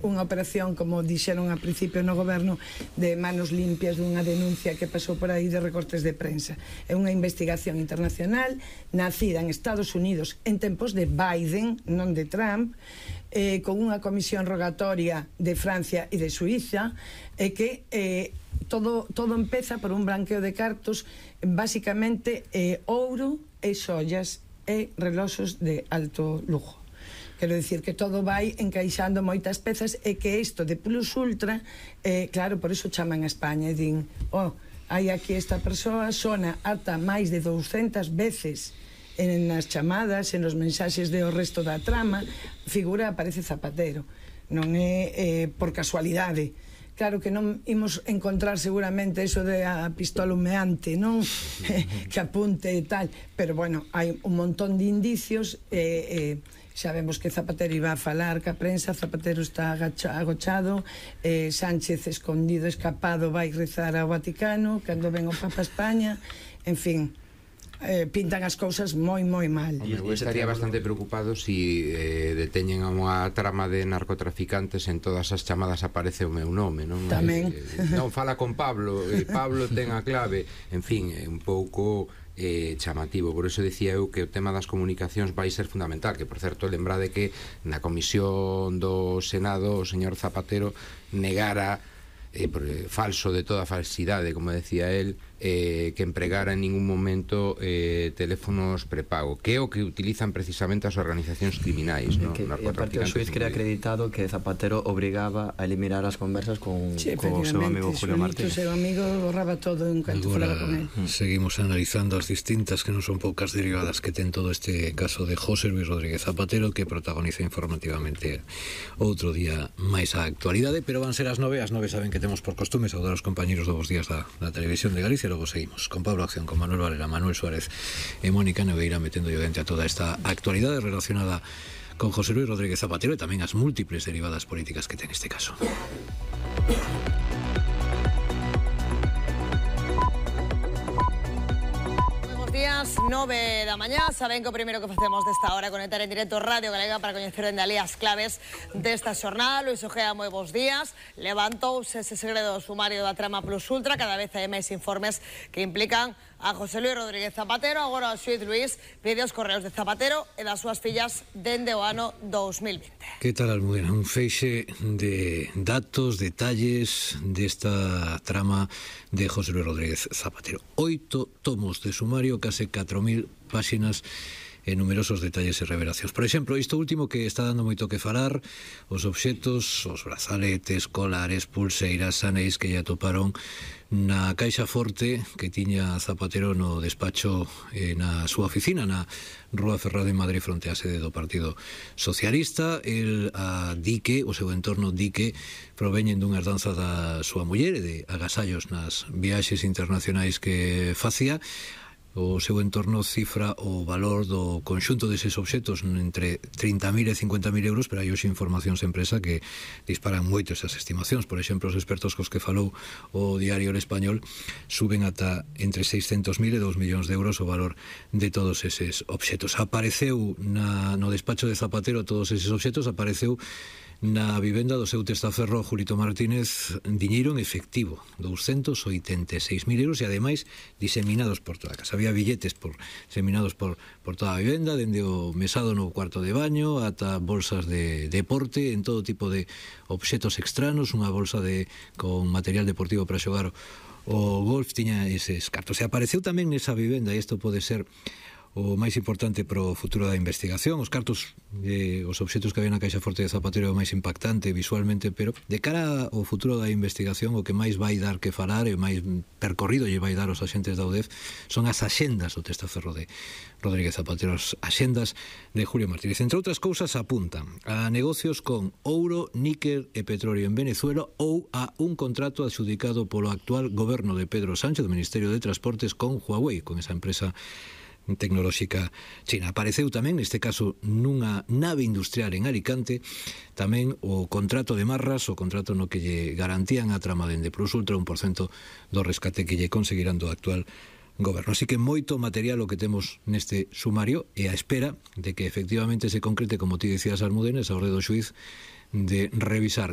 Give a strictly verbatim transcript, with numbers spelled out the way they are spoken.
unha operación, como dixeron a principio no goberno, de manos limpias dunha denuncia que pasou por aí de recortes de prensa. É unha investigación internacional nacida en Estados Unidos en tempos de Biden, non de Trump, eh, con unha comisión rogatoria de Francia e de Suiza, e que eh, todo, todo empeza por un branqueo de cartos, basicamente eh, ouro e xollas e reloxos de alto lujo. Quero dicir que todo vai encaixando moitas pezas e que isto de Plus Ultra, eh, claro, por iso chaman a España e din, oh, hai aquí esta persoa, sona ata máis de douscentas veces en as chamadas, en os mensaxes de o resto da trama, figura aparece Zapatero. Non é eh, por casualidade. Claro que non imos encontrar seguramente eso de a pistola humeante, non? Que apunte e tal, pero bueno, hai un montón de indicios e... Eh, xa vemos que Zapatero iba a falar ca prensa, Zapatero está agacha, agochado, eh, Sánchez escondido, escapado, vai rezar ao Vaticano cando ven o Papa a España, en fin, eh, pintan as cousas moi, moi mal. Eu estaría bastante preocupado si eh, deteñen a unha trama de narcotraficantes, en todas as chamadas aparece o meu nome, non? Tamén. Eh, non, fala con Pablo, eh, Pablo ten a clave, en fin, é un pouco... Eh, chamativo, por eso dicía eu que o tema das comunicacións vai ser fundamental, que por certo lembrade que na comisión do Senado o señor Zapatero negara eh, por, eh, falso de toda falsidade, como decía él, eh, que empregara en ningún momento eh, teléfonos prepago, que é o que utilizan precisamente as organizacións criminais, ¿no? Que, e aparte o xuiz queda acreditado que Zapatero obrigaba a eliminar as conversas con, sí, con o seu amigo Julio Martínez. O seu amigo borraba todo en cuanto falaba con él. Seguimos analizando as distintas, que non son poucas derivadas que ten todo este caso de José Luis Rodríguez Zapatero, que protagoniza informativamente outro día máis a actualidade, pero van ser as nove, as nove saben que temos por costume saudar os compañeros do Bos Días da, da Televisión de Galicia. Logo seguimos con Pablo Acción, con Manuel Valera, Manuel Suárez e Mónica Neveira metendo yo dentro a toda esta actualidade relacionada con José Luis Rodríguez Zapatero e tamén as múltiples derivadas políticas que ten este caso. nove da mañá, saben que o primeiro que facemos desta hora é conectar en directo Radio Galega para coñecer en Dalí as claves desta xornada. Luis Ojea, moi bons días. Levantouse ese segredo sumario da trama Plus Ultra, cada vez hai máis informes que implican a José Luis Rodríguez Zapatero. Agora o xuiz Luis pide os correos de Zapatero e das súas fillas dende o ano dous mil vinte. Que tal, Almudena? Un feixe de datos, detalles desta trama de José Luis Rodríguez Zapatero. Oito tomos de sumario, case catro mil páxinas e numerosos detalles e revelacións. Por exemplo, isto último que está dando moito que falar, os obxetos, os brazaletes, colares, pulseiras, anéis que lle atoparon na caixa forte que tiña Zapatero no despacho eh, na súa oficina na Rúa Ferrá de Madrid, fronte á sede do Partido Socialista. El a dique, o seu entorno dique, proveñen dunha herdanza da súa muller e de agasallos nas viaxes internacionais que facía. O seu entorno cifra o valor do conxunto deses obxetos entre trinta mil e cincuenta mil euros, pero hai hoxe informacións en empresa que disparan moito esas estimacións. Por exemplo, os expertos cos que falou o Diario El Español suben ata entre seiscentos mil e dous millóns de euros o valor de todos eses obxetos. Apareceu na, no despacho de Zapatero todos eses obxetos, apareceu na vivenda do seu testaferro Julito Martínez diñeiro en efectivo, doscientos oitenta e seis mil euros, e ademais diseminados por toda a casa. Había billetes por, diseminados por, por toda a vivenda, dende o mesado no cuarto de baño ata bolsas de deporte en todo tipo de obxetos extranos. Unha bolsa de con material deportivo para xogar o golf tiña eses cartos. E apareceu tamén nesa vivenda, e isto pode ser o máis importante pro futuro da investigación, os cartos, eh, os obxetos que había na caixa forte de Zapatero é o máis impactante visualmente, pero de cara ao futuro da investigación o que máis vai dar que falar e máis percorrido lle vai dar os axentes da U D E F son as axendas do testaferro de Rodríguez Zapatero, as axendas de Julio Martínez. Entre outras cousas apuntan a negocios con ouro, níquel e petróleo en Venezuela ou a un contrato adxudicado polo actual goberno de Pedro Sánchez, do Ministerio de Transportes, con Huawei, con esa empresa tecnolóxica china. Apareceu tamén, neste caso, nunha nave industrial en Alicante, tamén o contrato de Marras, o contrato no que lle garantían a trama dende Plus Ultra un por cento do rescate que lle conseguirán do actual goberno. Así que moito material o que temos neste sumario e a espera de que efectivamente se concrete, como ti decías, Almudena, esa orde do xuiz de revisar